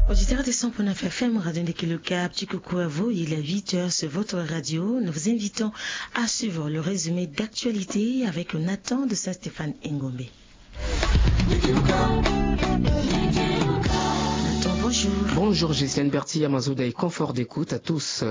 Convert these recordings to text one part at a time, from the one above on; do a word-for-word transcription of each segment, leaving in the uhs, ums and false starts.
Auditeurs de cent point neuf F M, Radio Ndekilo Cap, petit coucou à vous. Il est huit heures sur votre radio. Nous vous invitons à suivre le résumé d'actualité avec Nathan de Saint-Stéphane Engombe. Nathan, bonjour. Bonjour Gisèle Berti, Amazoda et confort d'écoute à tous.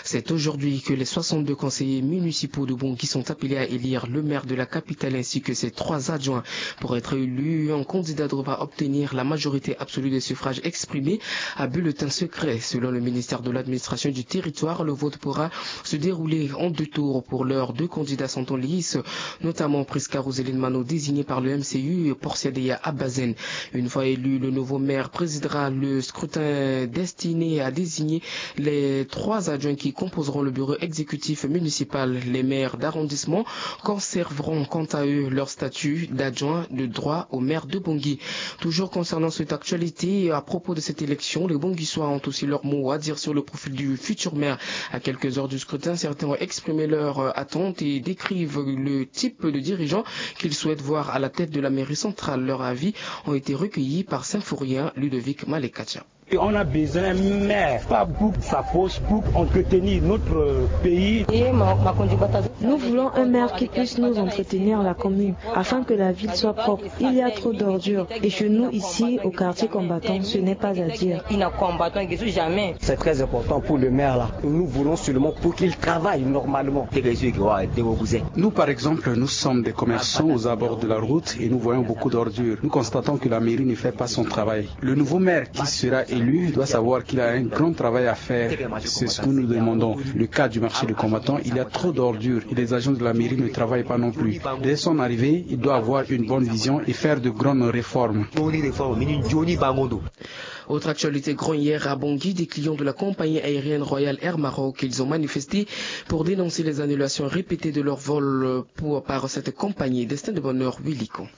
C'est aujourd'hui que les soixante-deux conseillers municipaux de Bangui sont appelés à élire le maire de la capitale ainsi que ses trois adjoints. Pour être élu, un candidat devra obtenir la majorité absolue des suffrages exprimés à bulletin secret. Selon le ministère de l'Administration du territoire, le vote pourra se dérouler en deux tours. Pour l'heure, deux candidats sont en lice, notamment Prisca Roseline Mano, désigné par le M C U, et Porcia Deya Abazen. Une fois élu, le nouveau maire présidera le scrutin destiné à désigner les trois adjoints qui composeront le bureau exécutif municipal. Les maires d'arrondissement conserveront quant à eux leur statut d'adjoint de droit au maire de Bangui. Toujours concernant cette actualité, à propos de cette élection, les Banguissois ont aussi leur mot à dire sur le profil du futur maire. À quelques heures du scrutin, certains ont exprimé leur, euh, attente et décrivent le type de dirigeant qu'ils souhaitent voir à la tête de la mairie centrale. Leurs avis ont été recueillis par Symphorien Ludovic Malekatia. Et on a besoin d'un maire, pas pour sa poche, pour entretenir notre pays. Nous voulons un maire qui puisse nous entretenir la commune, afin que la ville soit propre. Il y a trop d'ordures. Et chez nous, ici, au quartier combattant, ce n'est pas à dire. C'est très important pour le maire là. Nous voulons seulement pour qu'il travaille normalement. Nous, par exemple, nous sommes des commerçants aux abords de la route et nous voyons beaucoup d'ordures. Nous constatons que la mairie ne fait pas son travail. Le nouveau maire qui sera élu doit savoir qu'il a un grand travail à faire. C'est ce que nous demandons. Le cas du marché de combattant, il y a trop d'ordures et les agents de la mairie ne travaillent pas non plus. Dès son arrivée, il doit avoir une bonne vision et faire de grandes réformes. Autre actualité, grand hier à Bangui, des clients de la compagnie aérienne Royal Air Maroc, ils ont manifesté pour dénoncer les annulations répétées de leur vol pour, par cette compagnie. Destin de bonheur, Willy Con.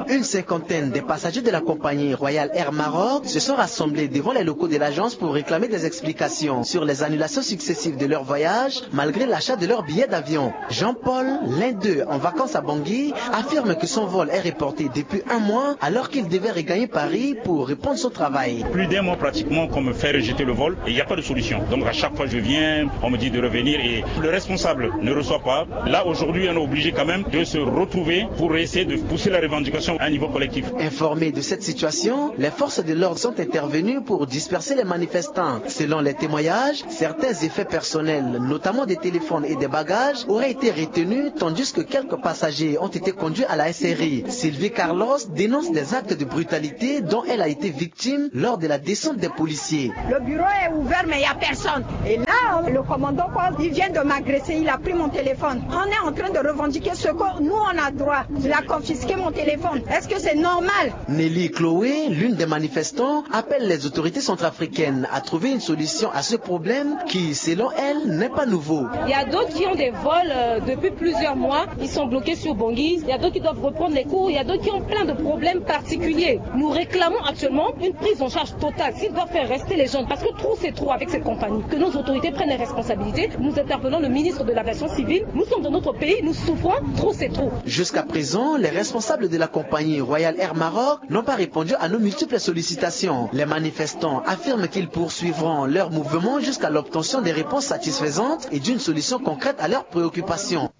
Une cinquantaine de passagers de la compagnie Royal Air Maroc se sont rassemblés devant les locaux de l'agence pour réclamer des explications sur les annulations successives de leur voyage, malgré l'achat de leur billet d'avion. Jean-Paul, l'un d'eux en vacances à Bangui, affirme que son vol est reporté depuis un mois alors qu'il devait regagner Paris pour reprendre son travail. Plus d'un mois pratiquement qu'on me fait rejeter le vol et il n'y a pas de solution. Donc à chaque fois je viens, on me dit de revenir et le responsable ne reçoit pas. Là aujourd'hui on est obligé quand même de se retrouver pour essayer de pousser la revendication à un niveau collectif. Informés de cette situation, les forces de l'ordre sont intervenues pour disperser les manifestants. Selon les témoignages, certains effets personnels, notamment des téléphones et des bagages, auraient été retenus, tandis que quelques passagers ont été conduits à la S R I. Sylvie Carlos dénonce des actes de brutalité dont elle a été victime lors de la descente des policiers. Le bureau est ouvert, mais il n'y a personne. Et là, le commandant, quoi, il vient de m'agresser, il a pris mon téléphone. On est en train de revendiquer ce que nous, on a droit. Il a confisqué mon téléphone. Est-ce que c'est normal ? Nelly Chloé, l'une des manifestants, appelle les autorités centrafricaines à trouver une solution à ce problème qui, selon elle, n'est pas nouveau. Il y a d'autres qui ont des vols, euh, depuis plusieurs mois. Ils sont bloqués sur Bangui. Il y a d'autres qui doivent reprendre les cours. Il y a d'autres qui ont plein de problèmes particuliers. Nous réclamons actuellement une prise en charge totale. S'ils doivent faire rester les gens, parce que trop c'est trop avec cette compagnie. Que nos autorités prennent les responsabilités. Nous interpellons le ministre de l'aviation civile. Nous sommes dans notre pays, nous souffrons. Trop c'est trop. Jusqu'à présent, les responsables de la compagnie Royal Air Maroc n'ont pas répondu à nos multiples sollicitations. Les manifestants affirment qu'ils poursuivront leur mouvement jusqu'à l'obtention des réponses satisfaisantes et d'une solution concrète à leurs préoccupations.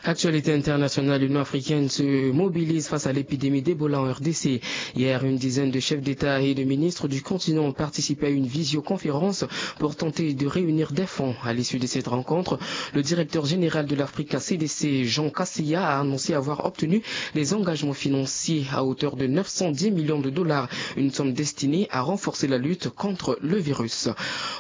Actualité internationale, l'Union africaine se mobilise face à l'épidémie d'Ebola en R D C. Hier, une dizaine de chefs d'État et de ministres du continent ont participé à une visioconférence pour tenter de réunir des fonds. À l'issue de cette rencontre, le directeur général de l'Africa C D C, Jean Kaseya, a annoncé avoir obtenu des engagements financiers à hauteur de neuf cent dix millions de dollars, une somme destinée à renforcer la lutte contre le virus.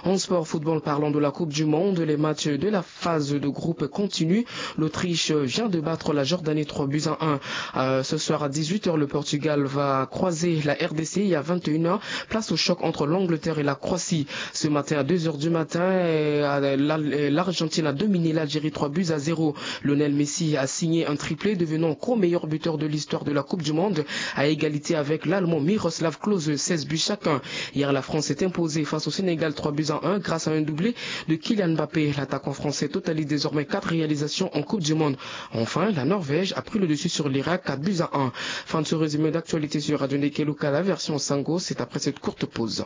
En sport football, parlons de la Coupe du Monde. Les matchs de la phase de groupe continuent. L'Autriche vient de battre la Jordanie trois buts à un. Euh, ce soir à dix-huit heures, le Portugal va croiser la R D C et à vingt et une heures, place au choc entre l'Angleterre et la Croatie. Ce matin à deux heures du matin, euh, la, euh, l'Argentine a dominé l'Algérie trois buts à zéro. Lionel Messi a signé un triplé, devenant co-meilleur buteur de l'histoire de la Coupe du Monde, à égalité avec l'Allemand Miroslav Klose, seize buts chacun. Hier, la France s'est imposée face au Sénégal trois buts à un grâce à un doublé de Kylian Mbappé. L'attaquant français totalise désormais quatre réalisations en Coupe du Monde. Enfin, la Norvège a pris le dessus sur l'Irak, quatre buts à un. Fin de ce résumé d'actualité sur Radio Ndeke Luka, la version Sango, c'est après cette courte pause.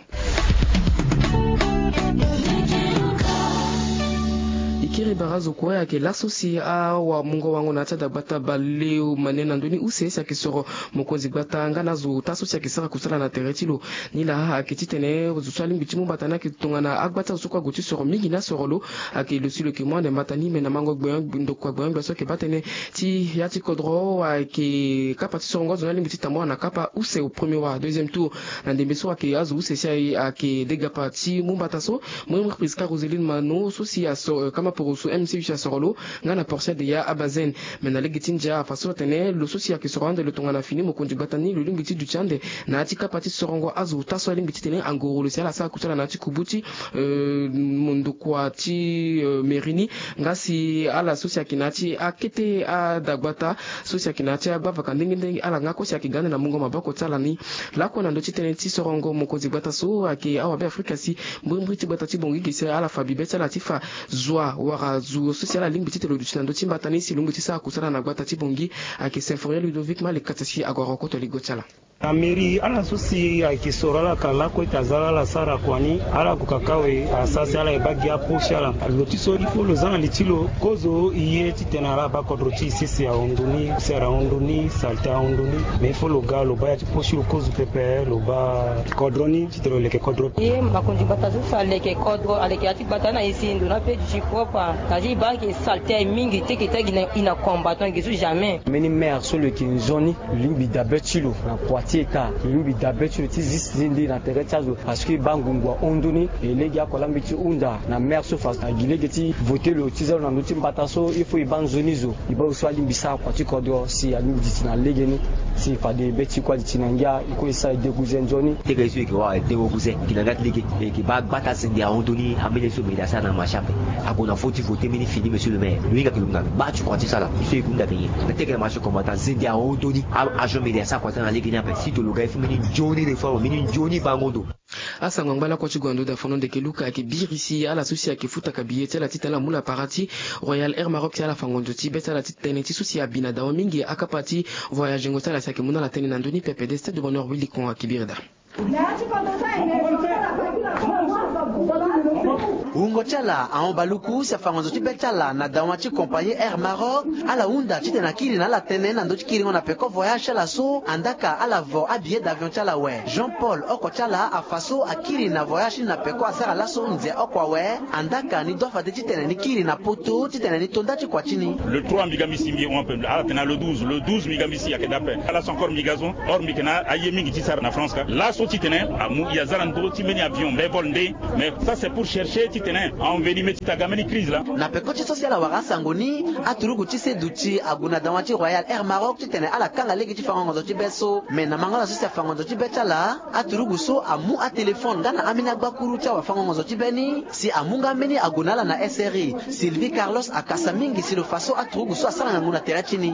Ikiri barazo kue ake laso si awa mungo wango na ti adagbata baleomane na ndoni use si ake soro mokonzi gbata nga na azo taso si ake sara kusala na tere ti lo. Ni laa ake titene zo so alingbi ti mu mbata ni ake tongana agbata zo so kue ague ti soro mingi na soro lo. Ake lo si lo yeke mu ande mbata ni me na mango gbeon ndokua gbeon gbe so ake baa tënë ti ya ti kodro ayeke kapa ti sorongo azo ni alingbi ti tambula na kapa use au premier wala deuxième tour. Na ndembe so ake azo use si ayeke degapa ti mu mbata so, mremre prisca roseline mano so si asoro kama poroso mc huit asoro lo nga na portia de ya abazen. Me na lege ti ndia afa so atene lo so si ayeke soro ande lo tongana fini mokonzi gbata ni lo lingbi ti duti ande na ya ti kapa ti sorongo azo ota so alingbi titene angoro lo si ala sara kusala na ya ti kubu ti mondokua ti mairie ni. Nga si ala so si ayeke na ya ti akete adagbata so si ayeke na ya ti abavaka ndenge ndenge ala nga kue si ayeke ga ande na mungo maboko ti ala ni. Lakue na ndö ti tënë ti sorongo mokonzi gbata so ayeke awabe afrika si mbrimbri ti gbata ti bongi gi si ala fa bibe ti ala ti fa zua wala zu so si ala lingbi titene lo duti na ndö ti mbata ni si lo lingbi ti sara kusala na gbata ti bongi. Ayeke symphorien ludovic malekata si ague arokoto ligo ti ala. Na mairie ala so si ayeke soro ala ka lakue ti aza la ala sara kua ni ala gue kaka awe. Asa si ala ye baa gi apo ti ala. Lo ti so il faut lo za na li ti lo kozo e ye titene ala baa kodro ti e sese ahon ndoni, sere ahon ndoni, salte ahon ndoni. Mais il faut lo ga lo baa ya ti po ti lo kozo pepe lo baa kodro ni titene lo leke kodro. Ye makonzi gbata so si aleke kodro aleke ya ti gbata na e si ndo na pe duti propre. Na ti e baa ayeke salte aye mingi ti e yeke ti e gi na e na combattant gi so jamais. Mbeni maire so lo yeke nzoni lo lingbi dabe ti lo na kua ti eta lo lingbi dabe ti lo ti zi nzende na tere ti azo. Parce que e baa ngungu ahon ndoni. E lege oko alingbi ti hunda na maire so fa agi lege ti vote lo ti za lo na ndö ti mbata so il faut e baa nzoni zo. E baa lo so alingbi sara kua ti kodro si alingbi duti na legeni. Si fade be ti kue aduti na ngia e kue e sara e deguze nzoni. Teke ye so e yeke wara e dengo guze e yeke na ngia ti lege e yeke baa gbata zende ahon ndoni. Ambeni ye so mairie asara na marché ape. Ague na fo ti vote mbeni fini monsieur le maire lo hinga yeke lo hinga lo baa ti kua ti sara. Ye so e yeke hunda yeke nyen? Na teke na marché combattant zende ahon ndoni. Agent mairie asara kua ti sara na legeni ape si tolo ga ye so mbeni nzoni réforme mbeni nzoni bango ndo. Asango angba lakue ti gue na ndo da fono ndeke luka ayeke biri si ala so si ayeke futaka biye ti ala titene ala mu lapara ti royal air maroc si ala fa ngonzo ti be ti ala ti tënë ti so si abi na dawa mingi akapa ti voyagengo ti ala si ayeke mu na ala tënë na ndö ni pepe de stade de bonheur wilikon ayeke biri daa. Wungo ti ala ahon baluku si afa ngonzo ti be ti ala na dawa ti compagnie air maroc. Ala hunda titene akiri na ala tënë na ndö ti kiringo na peko voyage ti ala so andaka ala vo abillet d'avion ti ala awe. Jean paul oko ti ala afa so akiri na voyage ti ni na peko asara laso nze oko awe. Andaka ni doit fade titene ni kiri na poto titene ni to nda ti kua ti ni. Le trois mbi ga mbi si mbi hon ape ala tene na le douze le douze mbi ga mbi si ayeke daa ape. Ala so encore mbi ga so or mbi yeke na aye mingi ti sara na france ka laso titene amu e aza na ndö ti mbeni avion mbevol nde. Mais ça c'est pour chercher titene aenvenime ti taga mbeni crise laa. Na peko ti so si ala wara asango ni aturugu ti seduti ague na dawa ti royal air maroc titene ala kanga lege ti fango ngonzo ti be so. Mais na mango ala so si afango ngonzo ti be ti ala aturugu so amu atelefone nga na ambeni agbakuru ti awafango ngonzo ti be ni. Si amu nga mbeni ague na ala na sri sylvie carlos akasa mingi si lo fa so aturugu so asara ngangu na tere ti ni.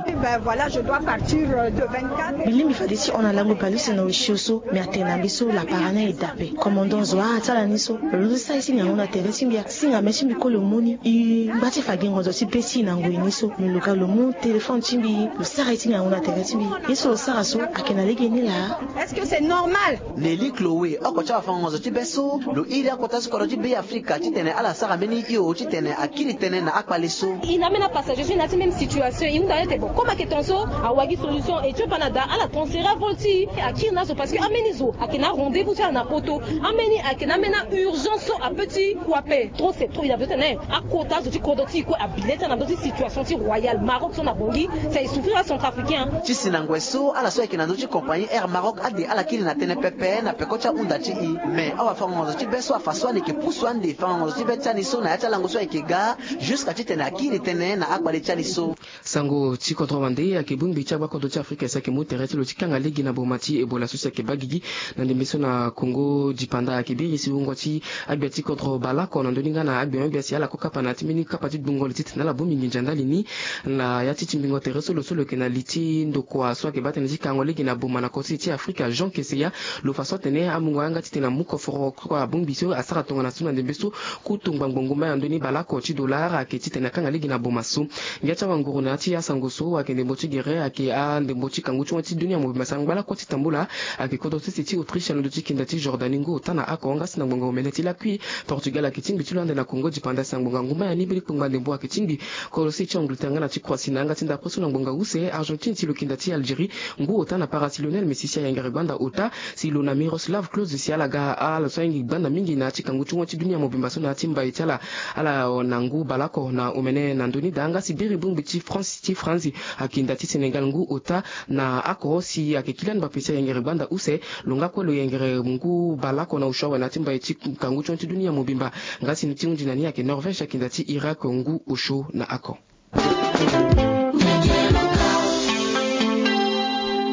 Mbi lingbi fade ti hon na lango baleuse na osio so. Mbi atene na mbi so lapara ni aye daa ape. Commandant zo aa ti ala ni so lo londo ti sara ye ti ngangu na tere ti mbi a singa me ti mbi kue lo mu ni. E ngba ti fa gi ngonzo ti be ti e na ngoi ni so me lo ga lo mu téléphone ti mbi lo sara ye ti ngangu na tere ti mbi. Ye so lo sara so ayeke na lege ni laa. Est-ce que c'est normal? Nelly chloé oko ti awafango ngonzo ti be so lo iri akota ti kodro ti be afrika titene ala sara mbeni hio titene akiri tënë na akpale so. E na ambeni apassager so e na ya ti même situation e hunda na ye ete bon comme ayeke ton so awagi solution e ti opa na daa ala transfere avol ti e akiri na azo parce que ambeni zo ayeke na arendez-vous ti ala na poto. Ambeni ayeke na ambeni aurgence so apeut ti kue ape trop c'est trop e na besoin tene akota azo ti kodro ti e kue abile ti ala na ndö ti situation ti royal maroc so na bongi. Si aye souffrir acentrafricain. Ti si na ngoi so ala so ayeke na ndö ti compagnie air maroc ade ala kiri na tënë pepe na peko ti ahunda ti e. Mais awafango ngonzo ti be so afa so ala yeke pusu ande fango ngonzo ti be ti ani so na ya ti alango so ayeke ga jusqu'à titene akiri tënë na akpale ti ani so. Sango ti kodro wande ayeke bongbi ti agbakodro ti afrika si ayeke mu tere ti lo ti kanga lege na boma ti ebola so si ayeke baa gigi. Na ndembe so na congo dipanda ayeke biri si wungo ti agbia ti kodro bala. na ndoni nga na agbiongbi asi ala ko kapa na ti mbeni kapa ti dungo li titene ala bongbi nginza ndali ni. Na ya ti timbingo tere so lo so lo yeke na li ti ndokua so ayeke baa tënë ti kango lege na boma na korosese ti Afrika, Jean Keseya, lo fa so atene amungo yanga titene amu koforo kua abongbi so asara tongana so na ndembe so. Kutu ngbangbo ngumba ya ndoni baleoko ti dollar ayeke titene akanga lege na boma so. Ngia ti awanguru na ya ti asango so ayeke ndembo ti gere ayeke andembo ti kangu ti wan ti dunia mobimba sara ngbalako ti tambula. Ayeke kodro sese ti Autriche na ndo ti kinda ti Jordanie ngu ota na oko nga si na ngbonga omene ti lakui. Portugal ayeke tingbi ti lo ande na Congo dipanda si na ngbonga ngumba ya ni mbeni kpengba ndembo ayeke tingbi. Kodro sese ti Angleterre nga na ti Croatie na yanga ti ndapre so na ngbonga use. Argentine ti lo kinda ti Algérie ngu ota na parasi Lionel Messi si ayengere gbanda ota. Si lo na Miroslav Klose si ala ga ala so ahingi gbanda mingi na ya ti kangu ti wan ti dunia mobimba so na ya ti mbai ti ala. Ala na ngu baleoko na omene na ndoni daa nga si biri bongbi ti France ti France ayeke nda ti Sénégal ngu ota na oko si ayeke Kylian Mbappé si ayengere gbanda use. Lo nga kue lo yengere ngu baleoko na osio awe na ya ti mbai ti kangu ti wan ti dunia mobimba. Nga si ti hunzi na ni ayeke Norvège ayeke nda ti Irak ngu osio na oko.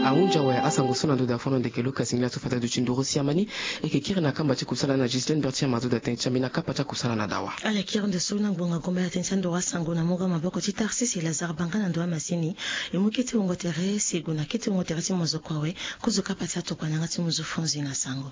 Ahunzi awe asango so na ndo daa fono ndeke Lucas Ngila so fata duti nduru siamani. E yeke kiri na kamba ti kusala na Ghislaine Bertier Mazoda tënë ti ambi na kapa ti akusala na dawa. Ala kiri nde so na ngbonga ngomba ya tënë ti anduru asango na mungo maboko ti Tarsis e Lazare Banga na ndo amasini. E mu kete wungo tere si e gue na kete wungo tere ti mozoko awe. Kozo kapa ti atokua na yanga ti muzu fonzi na sango.